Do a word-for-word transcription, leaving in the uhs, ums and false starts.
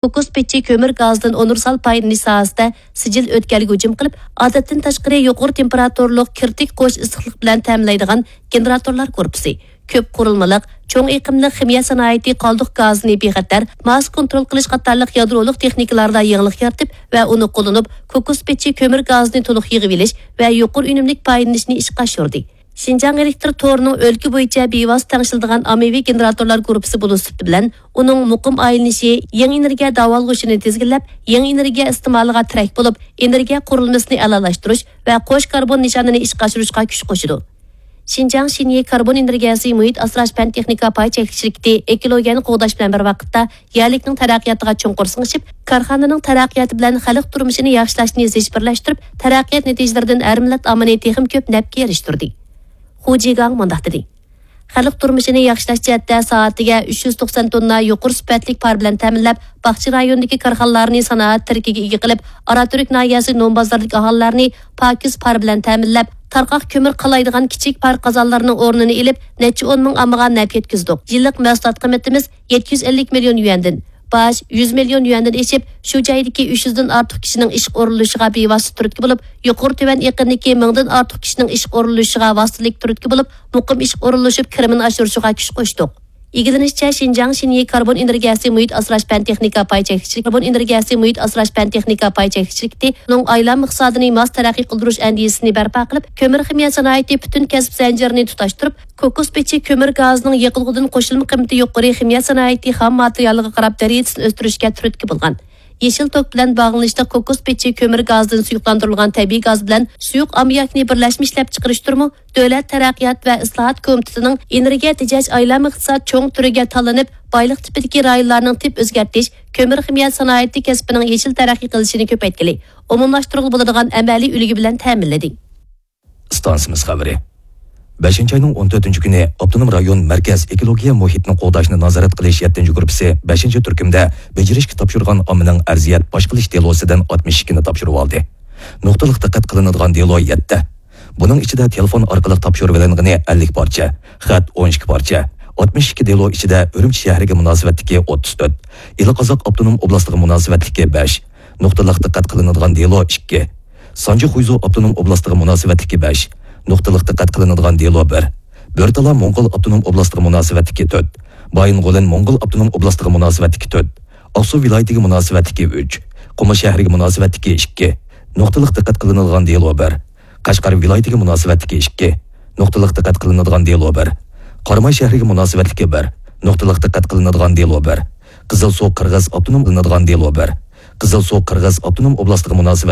كوكوس پېچى كۆمۈر گازىدىن ئۇنىۋېرسال پايدىلىنىش ساھەسىدە سىجىل ئۆتكەلگە ھۇجۇم قىلىپ، ئادەتتىن تاشقىرى يۇقىرى تېمپېراتۇرىلىق كىرىتىك قوش ئىسسىقلىق بىلەن تەمىنلەيدىغان گېنېراتورلار گۇرۇپپىسى، كۆپ قۇرۇلمىلىق، چوڭ ئېقىملىق خىمىيە سانائىتى قالدۇق گازىنى بىخەتەر، ماس كونترول قىلىش قاتارلىق يادرولۇق تېخنىكىلاردا يېڭىلىق يارىتىپ ۋە ئۇنى قوللىنىپ، كوكوس پېچى كۆمۈر گازىنى تولۇق يىغىۋېلىش ۋە يۇقىرى ئۈنۈملۈك پايدىلىنىشنى ئىشقا ئاشۇردى. شىنجاڭ ئېلېكتر تورىنىڭ ئۆلكە بويىچە بىۋاسىتە تەڭشىلىدىغان ئاممىۋى گېنېراتورلار گۇرۇپپىسى بولۇش سۈپىتى بىلەن، ئۇنىڭ مۇقىم ئايلىنىشى يېڭى ئېنېرگىيە داۋالغۇشىنى تىزگىنلەپ، يېڭى ئېنېرگىيە ئىستېمالىغا تىرەك بولۇپ، ئېنېرگىيە قۇرۇلمىسىنى ئەلالاشتۇرۇش ۋە قوش كاربون نىشانىنى ئىشقا ئاشۇرۇشقا كۈچ قوشىدۇ. شىنجاڭ شىنيې كاربون ئېنېرگىيەسى مۇھىت ئاسراش پەن تېخنىكا پاي چەكلىك شىركىتى ئېكولوگىيەنى قوغداش بىلەن بىر ۋاقىتتا، يەرلىكنىڭ تەرەققىياتىغا چوڭقۇر سىڭىشىپ، كارخانىنىڭ تەرەققىياتى بىلەن خەلق تۇرمۇشىنى ياخشىلاشنى زىچ بىرلەشتۈرۈپ، تەرەققىيات نەتىجىلىرىدىن ھەر مىللەت ئاممىنى تېخىمۇ كۆپ نەپكە ئېرىشتۈردى. خۇ جىگاڭ مۇنداق دېدى: خەلق تۇرمۇشىنى ياخشىلاش جەھەتتە سائىتىگە ئۈچ يۈز توقسان توننا يۇقىرى سۈپەتلىك پار بىلەن تەمىنلەپ، باغچە رايونىدىكى كارخانىلارنى سانائەت تىرىكىگە ئىگە قىلىپ، ئاراتۈرك ناھىيەسى نوم بازىرىدىكى ئاھالىلەرنى پاكىز پار بىلەن تەمىنلەپ، تارقاق كۆمۈر قالايدىغان كىچىك پار قازانلىرىنىڭ ئورنىنى ئېلىپ، نەچچە ئون مىڭ ئاممىغا نەپ يەتكۈزدۇق. يىللىق مەھسۇلات قىممىتىمىز يەتتە يۈز ئەللىك مىليون يۈەندىن، باج يۈز مىليون يۈەندىن ئېشىپ، شۇ جايدىكى ئۈچ يۈزدىن ئارتۇق كىشىنىڭ ئىشقا ئورۇنلىشىشىغا بىۋاسىتە تۈرتكە بولۇپ، يۇقىرى تۆۋەن ئېقىندىكى مىڭدىن ئارتۇق كىشىنىڭ ئىشقا ئورۇنلىشىشىغا ۋاسىتىلىك تۈرتكە بولۇپ، مۇقىم ئىشقا ئورۇنلىشىپ، كىرىمىنى ئاشۇرۇشىغا كۈچ قوشتۇق. ئىگىلىنىشىچە، شىنجاڭ شىنيې كاربون ئېنېرگىيەسى مۇھىت ئاسراش پەن تېخنىكا پاي چەكلىك شىركىتى، كاربون ئېنېرگىيەسى مۇھىت ئاسراش پەن تېخنىكا پاي چەكلىك شىركىتى ئۇنىڭ ئايلانما ئىقتىسادىنى ماس تەرەققىي قىلدۇرۇش ئەندىزىسىنى بەرپا قىلىپ، كۆمۈر خىمىيە سانائىتى پۈتۈن كەسىپ زەنجىرىنى تۇتاشتۇرۇپ، كوكوس پېچى كۆمۈر گازىنىڭ يېقىلغۇدىن قوشۇلما قىممىتى يۇقىرى خىمىيە سانائىتى خام ماتېرىيالىغا قاراپ دەرىجىسىنى ئۆستۈرۈشكە تۈرتكە بولغان. يېشىل توك بىلەن باغلىنىشلىق كوكوس پېچى كۆمۈر گازىدىن سۇيۇقلاندۇرۇلغان تەبىئىي گاز بىلەن سۇيۇق ئاممىياكنى بىرلەشمە ئىشلەپچىقىرىشتۇرمۇ دۆلەت تەرەققىيات ۋە ئىسلاھات كومىتېتىنىڭ ئېنېرگىيە تېجەش ئايلانما ئىقتىساد چوڭ تۈرىگە تاللىنىپ، بايلىق تىپىدىكى رايونلارنىڭ تىپ ئۆزگەرتىش، كۆمۈر خىمىيە سانائىتى كەسپىنىڭ يېشىل تەرەققىي قىلىشىنى كۆپەيتكىلى، ئومۇملاشتۇرغىلى بولىدىغان ئەمەلىي ئۈلگە بىلەن تەمىنلىدى. ئىستانسىمىز خەۋىرى. بەشىنچى ئاينىڭ ئون تۆتىنچى كۈنى ئاپتونوم رايون مەركەز ئېكولوگىيە مۇھىتنى قوغداشنى نازارەت قىلىش يەتتىنچى گۇرۇپپىسى بەشىنچى تۈركۈمدە بېجىرىشكە تاپشۇرغان ئاممىنىڭ ئەرزىيەت پاش قىلىش دېلوسىدىن ئاتمىش ئىككىنى تاپشۇرۇۋالدى. نۇقتىلىق دىققەت قىلىنىدىغان دېلو يەتتە. بۇنىڭ ئىچىدە تېلېفون ئارقىلىق تاپشۇرۇۋېلىنغىنى ئەللىك پارچە، خەت ئون ئىككى پارچە، ئاتمىش ئىككى دېلو ئىچىدە ئۈرۈمچى شەھىرىگە مۇناسىۋەتلىكى ئوتتۇز تۆت، ئىلى قازاق ئاپتونوم ئوبلاستىغا مۇناسىۋەتلىكى بەش، نۇقتىلىق دىققەت قىلىنىدىغان دېلو ئىككى، سانجى خۇيزۇ ئاپتونوم ئوبلاستىغا مۇناسىۋەتلىكى بەش، نۇقتىلىق دىققەت قىلىنىدىغان دېلو بىر، بۆرتالا موڭغۇل ئاپتونوم ئوبلاستىغا مۇناسىۋەتلىكى تۆت، بايىنغولىن موڭغۇل ئاپتونوم ئوبلاستىغا مۇناسىۋەتلىكى تۆت، ئاقسۇ ۋىلايىتىگە مۇناسىۋەتلىكى ئۈچ، قۇمۇل شەھىرىگە مۇناسىۋەتلىكى ئىككى، نۇقتىلىق دىققەت قىلىنىدىغان دېلو بىر، قەشقەر ۋىلايىتىگە مۇناسىۋەتلىكى ئىككى، نۇقتىلىق دىققەت قىلىنىدىغان دېلو بىر، قاراماي شەھىرىگە مۇناسىۋەتلىكى بىر، نۇقتىلىق دىققەت قىلىنىدىغان دېلو بىر، قىزىلسۇ قىرغىز ئاپتونوم قىلىنىدىغان دېلو بىر، قىزىلسۇ قىرغىز ئاپتونوم ئوبلاستىغا مۇناسىۋەت